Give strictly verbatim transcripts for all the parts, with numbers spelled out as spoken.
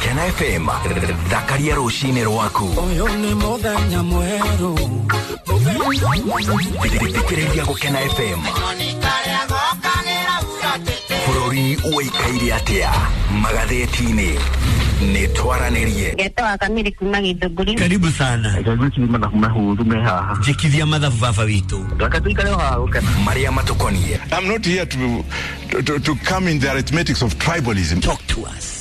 Gũkena F M thakaria rũcinĩ rwaku. Ũyũ nĩ mũthenya mwerũ. Thikĩrĩria Gũkena F M. Bũrũri ũikaire atĩa magathĩti-inĩ nĩ twaranĩrie. Ngetwa Kamiri kuma Githũngũri. Karibu sana. Jikithia mathabu baba witũ. Maria matukonie. I'm not here to, to, to come in the arithmetics of tribalism. Talk to us.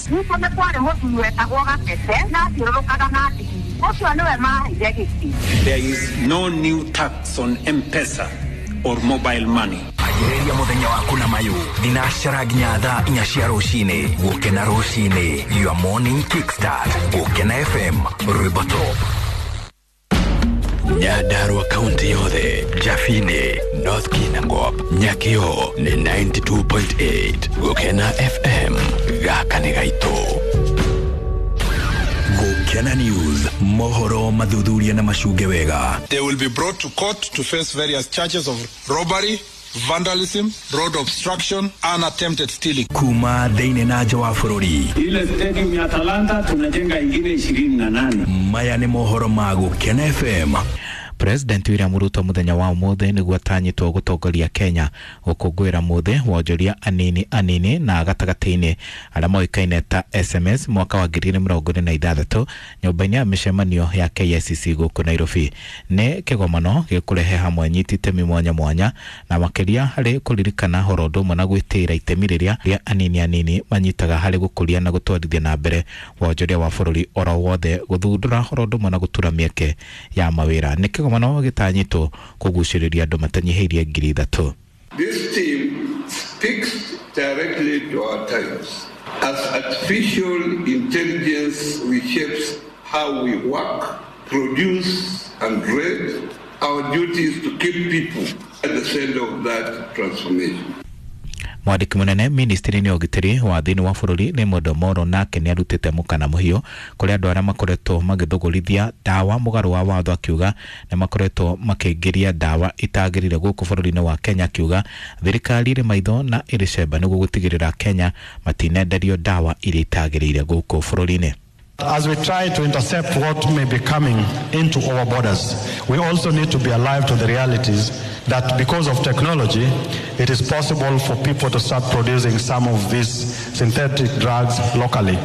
There is no new tax on M-Pesa or mobile money. Anjĩrĩria mũthenya waku na mayũ thinacara nginya thaa inya cia rũcinĩ. Gũkena rũcinĩ, your morning kickstart. Gũkena F M, rwĩmbo top. Nyandarua kaunti yothe, Jafine, North Kinangop, Nyakio ni ninety-two point eight. Gũkena F M, gaka nĩ gaitũ. Gũkena News, mohoro mathuthuria na macunge wega. They will be brought to court to face various charges of robbery, vandalism, road obstruction and attempted stealing. Kuma thĩinĩ na nja wa bũrũri. Ile stadium ya Talanta tunajenga ingine ishirini na nane. Maya nĩ mohoro ma Gũkena F M. President William Ruto muthenya wa umuthi niguo atanyitwo gutongoria Kenya gukungwira muthi wonjoria anini anini na gatagati-ini aria moikaine ta S M S mwaka wa ngiri mĩrongo ĩrĩ na ithathatũ nyũmba-inĩ ya mĩcemanio ya K I C C gũkũ Nairobi. Nĩ kĩgomano gĩkũrehe hamwe nyiti itemi mwanya mwanya na makĩria harĩ kũririkana horo ũndũ ũmwe na gwĩtĩĩra itemi rĩrĩa rĩa anini anini manyitaga harĩ gũkũria na gũtwarithia na mbere wonjoria wa bũrũri oro wothe gũthundũra horo ũndũ ũmwe na gũtura mĩeke ya mawĩra. Nĩ kĩgomano gĩtanyitwo kũgucĩrĩria andũ matanyihĩirie ngiri ithatũ. This team speaks directly to our times. As artificial intelligence reshapes how we work, produce and trade, our duty is to keep people at the center of that transformation. Mwandĩki mũnene ministry-inĩ ya ũgitĩri wa thĩinĩ wa bũrũri Raymond Omolo nake nĩ arutĩte mũkana mũhiũ kũrĩ andũ arĩa makoretwo magĩthũgũrithia ndawa mũgarũ wa watho, akiuga nĩ makoretwo makĩingĩria ndawa itagĩrĩire gũkũ bũrũri-inĩ wa Kenya, akiuga thirikari ĩrĩ maitho na ĩrĩ cemba nĩguo gũtigĩrĩra Kenya matinenderio ndawa iria itagĩrĩire gũkũ bũrũri-inĩ. As we try to intercept what may be coming into our borders, we also need to be alive to the realities that because of technology, it is possible for people to start producing some of these synthetic drugs locally.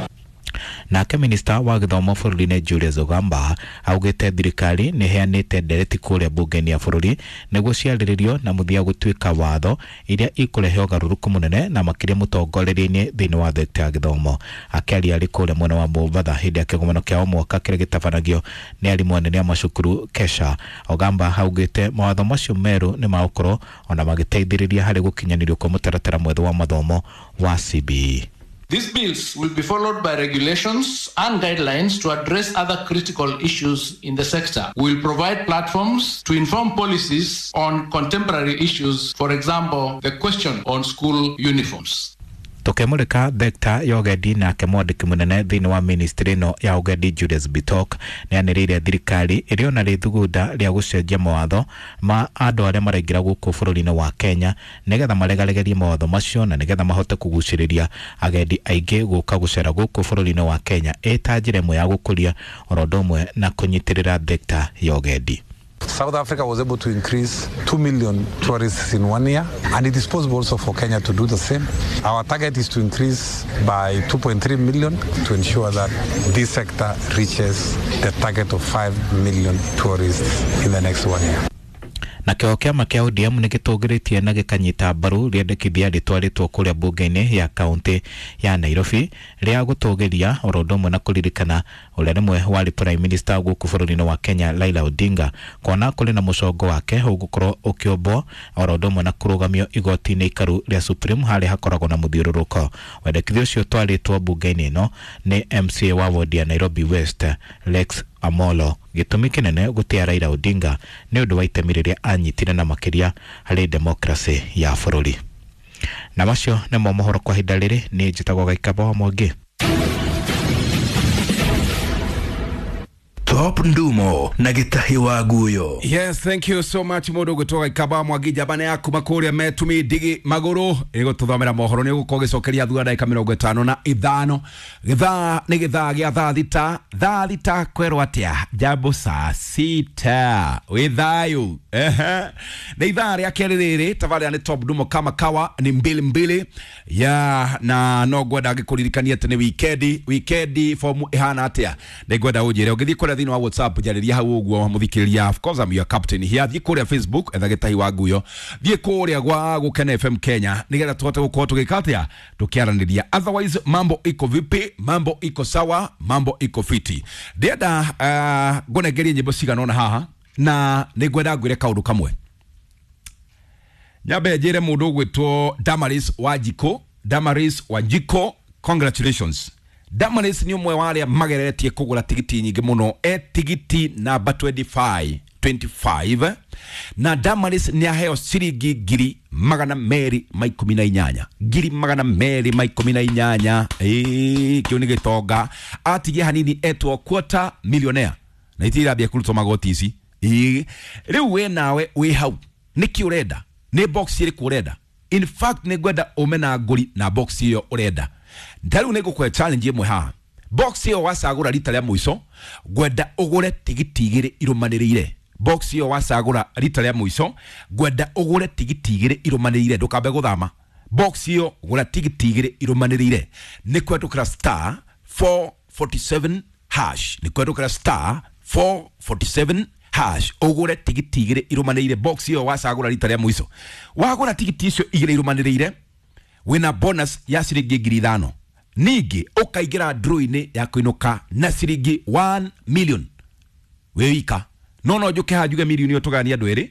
Nake minista wa gĩthomo bũrũri-inĩ Julius Ogamba augĩte thirikari nĩ ĩheanĩte ndereti kũrĩa mbunge-inĩ ya bũrũri nĩguo ciarĩrĩrio na mũthia gũtuĩka watho iria ikũrehe ũgarũrũku mũnene na makĩria mũtongorerie-inĩ thĩinĩ wa thekta ya gĩthomo. Akĩaria arĩ kũrĩa mwena wa Mombatha hĩndĩ ya kĩgomano kĩa o mwaka kĩrĩa gĩtabanagio nĩ arimũ anene a macukuru KESHA, Ogamba augĩte mawatho macio merũ nĩ magũkorwo ona magĩteithĩrĩria harĩ gũkinyanĩrio kwa mũtaratara mwerũ wa mathomo wa C B E. These bills will be followed by regulations and guidelines to address other critical issues in the sector. We will provide platforms to inform policies on contemporary issues, for example, the question on school uniforms. Tukemurika thekta ya ũgendi nake mwandĩki mũnene thĩinĩ wa ministry ĩno ya ũgendi Julius Bitok nĩanĩrĩire thirikari ĩrĩ ona rĩthugunda rĩa gũcenjia mawatho ma andũ arĩa maraingĩra gũkũ bũrũri-inĩ wa Kenya nĩgetha maregaregerie mawatho macio na nĩgetha mahote kũgucĩrĩria agendi aingĩ gũka gũcera gũkũ bũrũri-inĩ wa Kenya ĩta njĩra ĩmwe ya gũkũria oro ũndũ ũmwe na kũnyitĩrĩra thekta ya ũgendi. South Africa was able to increase two million tourists in one year, and it is possible also for Kenya to do the same. Our target is to increase by two point three million to ensure that this sector reaches the target of five million tourists in the next one year. Nakĩo kĩama kĩa O D M nĩgĩtũgĩrĩtie na gĩkanyita mbaru rĩendekithia rĩtwarĩtwo kũrĩa mbunge-inĩ ya kaunti ya Nairobi rĩa gũtũgĩria oro ũndũ ũmwe na kũririkana ũrĩa rĩmwe warĩ Prime Minister gũkũ bũrũri-inĩ wa Kenya Raila Odinga kuona kũrĩ na mũcongo wake ũgũkorwo ũkĩombwo oro ũndũ ũmwe na kũrũgamio igoti-inĩ ikaru rĩa Supreme harĩa hakoragwo na mũthiũrũrũko. Wendekithia ũcio ũtwarĩtwo mbunge-inĩ ĩno nĩ M C A wa ward ya Nairobi West Lex Amolo. Gĩtũmi kĩnene gũtĩa Raila Odinga nĩ ũndũ wa itemi rĩrĩa anyitire na makĩria harĩ demokrasi ya bũrũri. Na macio nĩmo mohoro kwa ihinda rĩrĩ. Nĩ njĩtagwo Gaikaba wa Mwangi. Top Ndumo na Gitahi wa Guyo. Yes, thank you so much mundu gwitwo Gikaba Mwangi njambane yaku makuria metumi ndigi maguru igututhomera mohoro ni ugukorwo gicokeria thutha ndagika mirongo itano na ithano. Githaa ni githaa gia thaa thita, thaa thita kwerwo atia jambo saa sita wi thayu. Ehe, ni ithaa ria keri riri tabarira ni Top Ndumo kama kawa ni mbili mbili ya na no ngwenda ngikuririkania ati ni wikendi. Wikendi fomu ihana atia ni ngwenda unjire ungithie kuria thiini wa WhatsApp njariria hau uguo muthikiriria. Of course I'm your captain here. Thiĩ kuria Facebook etha Gitahi wa Nguyo, thiĩ kuria gwa Gukena F M Kenya nigetha tuhote gukorwo tugika atia tukiaraniria. Otherwise mambo iko vipi? Mambo iko sawa, mambo iko fiti. Ndĩrenda uh, ngũnengerie nyĩmbo cigana ũna haha na nĩ ngwenda ngwĩre kaũndũ kamwe. Nyambe njĩre mũndũ ũgwĩtwo Damaris Wanjikũ. Damaris Wanjikũ, congratulations. Damaris nĩ ũmwe wa arĩa mageretie kũgũra tigiti nyingĩ mũno, e tigiti namba twenty-five, twenty-five, na Damaris nĩ aheo ciringi ngiri magana merĩ ma ikũmi na inyanya, ngiri magana merĩ ma ikũmi na inyanya. Ĩĩ, kĩu nĩ gĩtonga. Atigie hanini etwo quarter millionaire na itirambia kũrutwo magoti ici. Ĩĩ, rĩu we nawe wĩ hau nĩkĩ ũrenda? Nĩ box ĩrĩkũ ũrenda? In fact nĩ ngwenda ume na ngũri na box ĩyo ũrenda. Ndaru nĩ ngũkũhe challenge ĩmwe haha. Box ĩyo wacagũra rita rĩa mũico ngwenda ũgũre tigiti igĩrĩ irũmanĩrĩire. Box ĩyo wacagũra rita rĩa mũico ngwenda ũgũre tigiti igĩrĩ irũmanĩrĩire, ndũkambe gũthama. Box ĩyo gũra tigiti igĩrĩ irũmanĩrĩire. Nĩ kwendũkĩra star four forty-seven hash, nĩ kwendũkĩra star four forty-seven hash ũgũre tigiti igĩrĩ irũmanĩrĩire. Box ĩyo wacagũra rita rĩa mũico wagũra tigiti icio igĩrĩ irũmanĩrĩire wĩna bonus ya ciringi ngiri ithano. Ningĩ ũkaingĩra draw-inĩ ya kũinũka na ciringi one million wĩ wika. No no njuke haha njuge milioni ĩyo tũgayanie andũ erĩ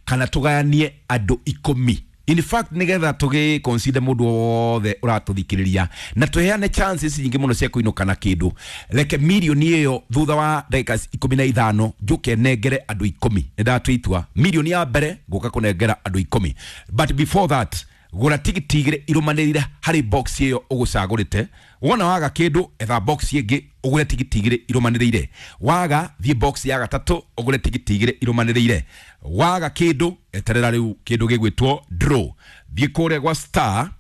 kana tũgayanie andũ ikũmi. In fact nigetha tũgĩ consider mũndũ wothe ũratũthikĩrĩria na tũheane chances nyingĩ mũno cia kũinũka na kĩndũ, reke milioni ĩyo thutha wa ndagĩka ikũmi na ithano njũke nengere andũ ikũmi. Nĩ ndatua itua milioni ya mbere ngũka kũnengera andũ ikũmi, but before that gũra tigiti igĩrĩ irũmanĩrĩire harĩ box ĩyo ũgũcagũrĩte. Wona waga kĩndũ etha box ĩngĩ ũgũre tigiti igĩrĩ irũmanĩrĩire. Waga thiĩ box ya gatatũ ũgũre tigiti igĩrĩ irũmanĩrĩire. Waga kĩndũ eterera rĩu kĩndũ gĩgwĩtwo draw. Thiĩ kũrĩa gwa star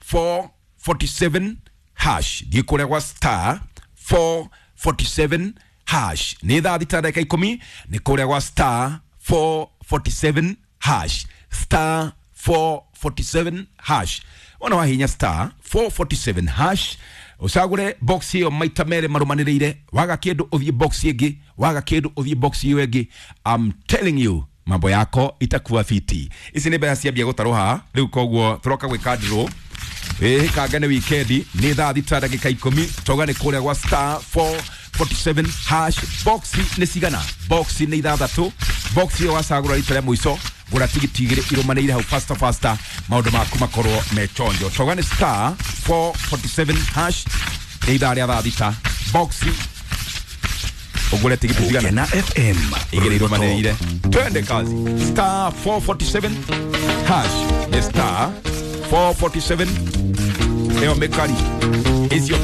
four forty-seven hash, thiĩ kũrĩa gwa star four forty-seven hash. Nĩ thaa thita ndagĩka ikũmi, nĩ kũrĩa gwa star four forty-seven hash, star four forty-seven hash. Ona wahinya star four forty-seven hash ucagure box iyo maita mere marumaniriire. Waga kindu uthie box ingi, waga kindu uthie box iyo ingi. I'm telling you mambo yako itakuwa fiti. Ici ni mbeca ciambia gutarwo haha riu, koguo turoka gwika draw. Ĩĩ kanga nĩ wikendi, nĩ thaa thita ndagĩka ikũmi, toga nĩ kũrĩa gwa star four forty-seven hash. Box nĩ cigana? Box nĩ ithathatũ. Box iyo wacagũra rita rĩa mũico gũra tigiti igĩrĩ irũmanĩrĩire hau faster faster, maũndũ maku makorwo me chonjo. Toga nĩ star four forty-seven hash, nĩ ithaa rĩa thaa thita. Box ũgũre tigiti cigana? Gukena F M igĩrĩ irũmanĩrĩire. Twende kazi. Star four forty-seven hash nĩ star four forty-seven ĩyo mĩkari icio.